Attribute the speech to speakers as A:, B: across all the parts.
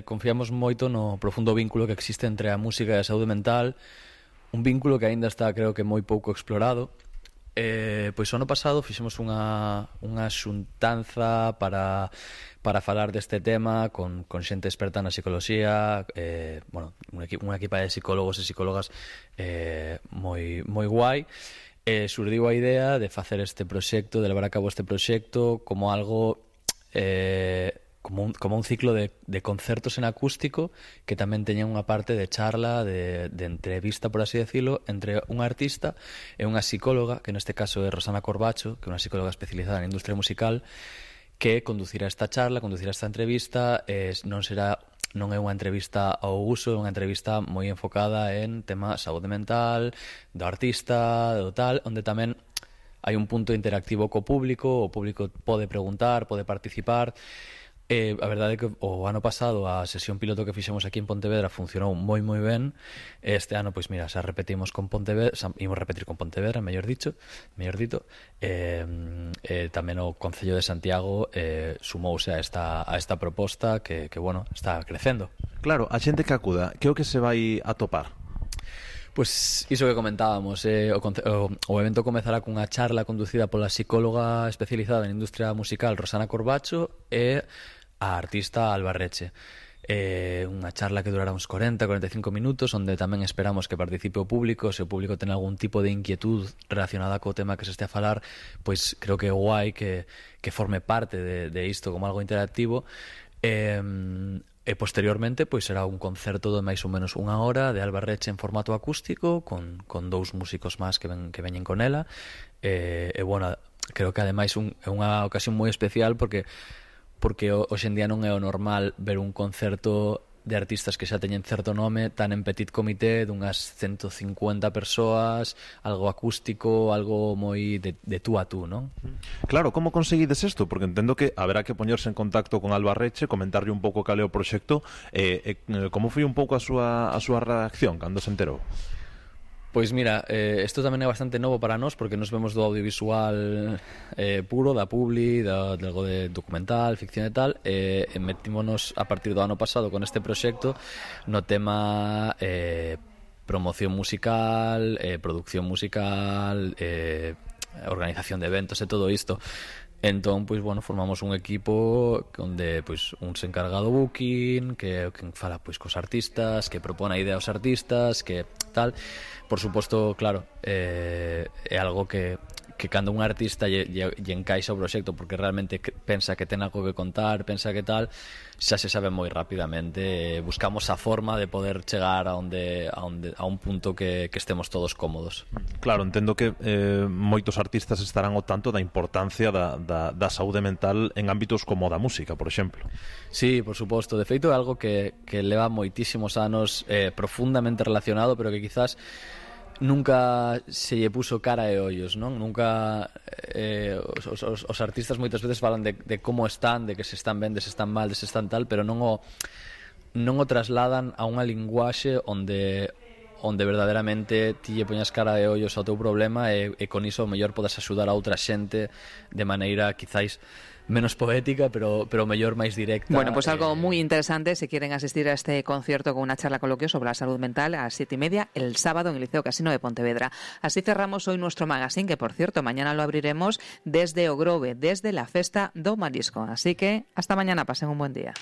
A: Confiamos moito no profundo vínculo que existe entre a música e a saúde mental, un vínculo que aínda está, creo que, moi pouco explorado. Pois o ano pasado fixemos unha xuntanza para falar deste tema con xente experta na psicoloxía, unha equipa de psicólogos e psicólogas moi guai. Surdiu a idea de facer este proxecto, de levar a cabo este proxecto como algo como un ciclo de concertos en acústico que tamén teña unha parte de charla, de entrevista, por así decirlo, entre un artista e unha psicóloga, que neste caso é Rosana Corbacho, que é unha psicóloga especializada na industria musical, que conducirá esta charla, conducirá esta entrevista. Non é unha entrevista ao uso, é unha entrevista moi enfocada en tema saúde mental, do artista, do tal, onde tamén hai un punto interactivo co público, o público pode preguntar, pode participar. A verdade é que o ano pasado a sesión piloto que fixemos aquí en Pontevedra funcionou moi ben. Este ano, pois mira, xa repetimos con Pontevedra, imos repetir con Pontevedra, mellor dito. Tamén o Concello de Santiago sumouse a esta proposta que bueno, está crecendo.
B: Claro, a xente que acuda, que é o que se vai atopar?
A: Pois iso que comentábamos, o evento comezará cunha charla conducida pola psicóloga especializada en industria musical Rosana Corbacho e a artista Alba Reche. Unha charla que durará uns 40-45 minutos, onde tamén esperamos que participe o público. Se o público ten algún tipo de inquietud relacionada co tema que se este a falar, pois creo que é guai que forme parte de isto como algo interactivo. E posteriormente pois será un concerto de máis ou menos unha hora de Alba Reche en formato acústico con dous músicos máis que veñen con ela. Bueno, creo que ademais é unha ocasión moi especial porque hoxe en día non é o normal ver un concerto de artistas que xa teñen certo nome tan en petit comité, dunhas 150 persoas, algo acústico, algo moi de tú a tú, non?
B: Claro, como conseguides isto? Porque entendo que haberá que poñerse en contacto con Alba Reche, comentarlle un pouco cal é o proxecto. Como foi un pouco a súa reacción cando se enterou?
A: Pois mira, isto tamén é bastante novo para nós, porque nos vemos do audiovisual puro, da publi, de algo de documental, ficción e tal, e metímonos a partir do ano pasado con este proxecto no tema promoción musical, producción musical, organización de eventos e todo isto. Entón, pois, bueno, formamos un equipo onde, pois, un se encarga do booking, que fala, pois, cos artistas, que propone a idea aos artistas, que tal. Por suposto, claro, é algo que cando un artista lle encaixa o proxecto porque realmente pensa que ten algo que contar, pensa que tal, xa se sabe moi rapidamente. Buscamos a forma de poder chegar a un punto que estemos todos cómodos.
B: Claro, entendo que moitos artistas estarán ao tanto da importancia da saúde mental en ámbitos como o da música, por exemplo.
A: Sí, por suposto. De feito é algo que leva moitísimos anos profundamente relacionado, pero que quizás nunca se lle puso cara e ollos, non? Nunca os artistas moitas veces falan de como están, de que se están ben, de se están mal, de se están tal, pero non o trasladan a unha linguaxe onde verdadeiramente ti lle poñas cara e ollos ao teu problema e con iso o mellor podes axudar a outra xente de maneira quizáis menos poética, pero mellor máis directa.
C: Bueno, pues algo muy interesante si quieren asistir a este concierto con una charla coloquio sobre la salud mental a las 7:30 el sábado en el Liceo Casino de Pontevedra. Así cerramos hoy nuestro magazine, que por cierto mañana lo abriremos desde O Grove, desde la Festa do Marisco. Así que hasta mañana, pasen un buen día.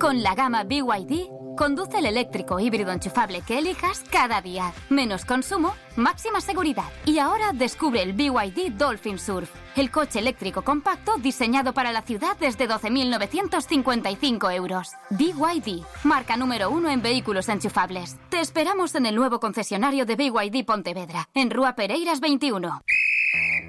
D: Con la gama BYD, conduce el eléctrico híbrido enchufable que elijas cada día. Menos consumo, máxima seguridad. Y ahora descubre el BYD Dolphin Surf, el coche eléctrico compacto diseñado para la ciudad desde 12.955 euros. BYD, marca número 1 en vehículos enchufables. Te esperamos en el nuevo concesionario de BYD Pontevedra, en Rúa Pereiras 21.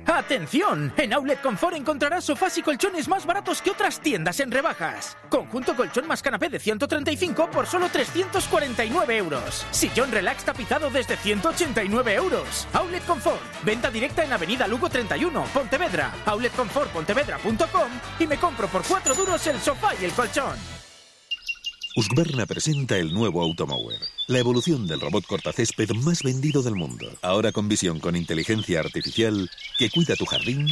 E: ¡Atención! En Outlet Confort encontrarás sofás y colchones más baratos que otras tiendas en rebajas. Conjunto colchón más canapé de 135 por solo 349 euros. Sillón relax tapizado desde 189 euros. Outlet Confort. Venta directa en Avenida Lugo 31, Pontevedra. outletconfortpontevedra.com y me compro por 4 duros el sofá y el colchón.
F: Husqvarna presenta el nuevo Automower, la evolución del robot cortacésped más vendido del mundo. Ahora con visión con inteligencia artificial que cuida tu jardín